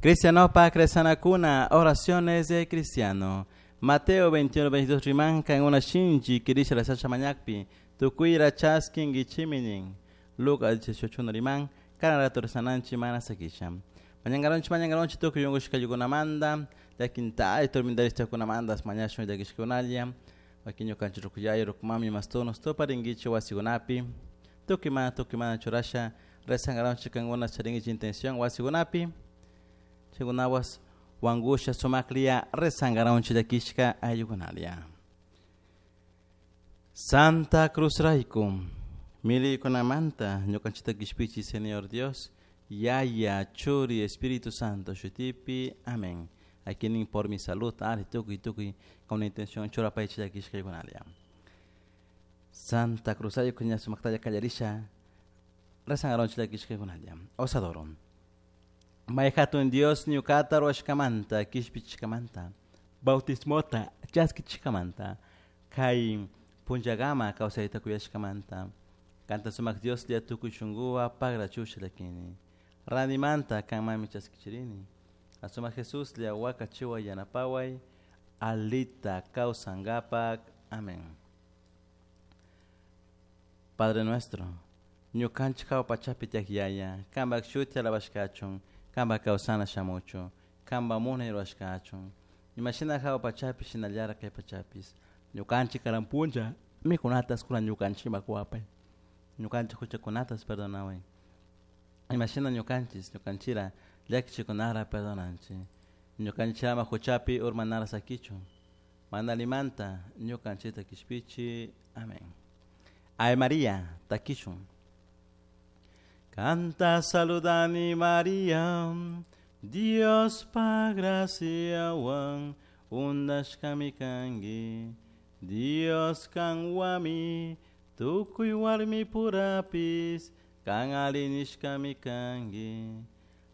Cristianopa Cresanakuna, oraciones de cristiano. Mateo 21, 22 rimanka en una shinchi kirisha la mañakpi, tukuyra chaskingichimi nin. Lucas 18 riman, kana rato rezananchi mana sakisha. Mañangaronchi mañangaronchi tukuy yungushkayukunamanta, llakinta tormentarishtakunamantas mañashun llakishkunalla, wakin ñukanchik rukuyay rukumami mastunos tuparinkichik wasikunapi, tukuy mana tukuy mana churasha rezangaronchik kankuna charinkichik intención wasikunapi, chaykunawas wankusha sumaklla rezangaronchik llakishka ayllukunalla. Santa Cruz rayku, miliykunamanta ñukanchikta kishpichi Señor Dios, Yaya, Churi, Espíritu Santo, shutipi, amén. Aquí por mi salud, ari tukuy tukuy, con una intención churapaychik llakishkaykunalla. Santa Cruz rayku ña sumaktalla kallarisha, rezangaronchik llakishkaykunalla. Os adoro. May hatun Dios ñukata ruwashkamanta, kishpichishkamanta, bautismota chaskichishkamanta, kay punllakama kawsayta kuyashkamanta, kanta sumak Dioslla tukuy shunkuwan pagrachusha llakini. Ranimanta kanmanmi chaskichirini. Asumak Jesuslla wakachiway yanapaway, alita kawsankapak. Amén. Padre nuestro, ñukanchik hawa pachapi tiyak Yaya, kanpak shuti alabashkachun, kanpak kawsana shamuchun, kanpak munay rurashkachun. Imashina hawa pachapi shinallara kay pachapis. Ñukanchik karan punlla mikunatas kunan ñukanchikman kuwapay. Ñukanchik huchakunatas perdonaway. Imashina ñukanchis ñukanchira llakichikunara perdonanchik. Ñukanchik ama huchapi urmanara sakichun. Mana allimanta ñukanchikta kishpichi. Amén. Ave María, takishun. Kanta saludani María, Dios pa graciawan undashkami kanki. Dios kanwami, tukuy warmi purapis, kan alli nishkami kanki.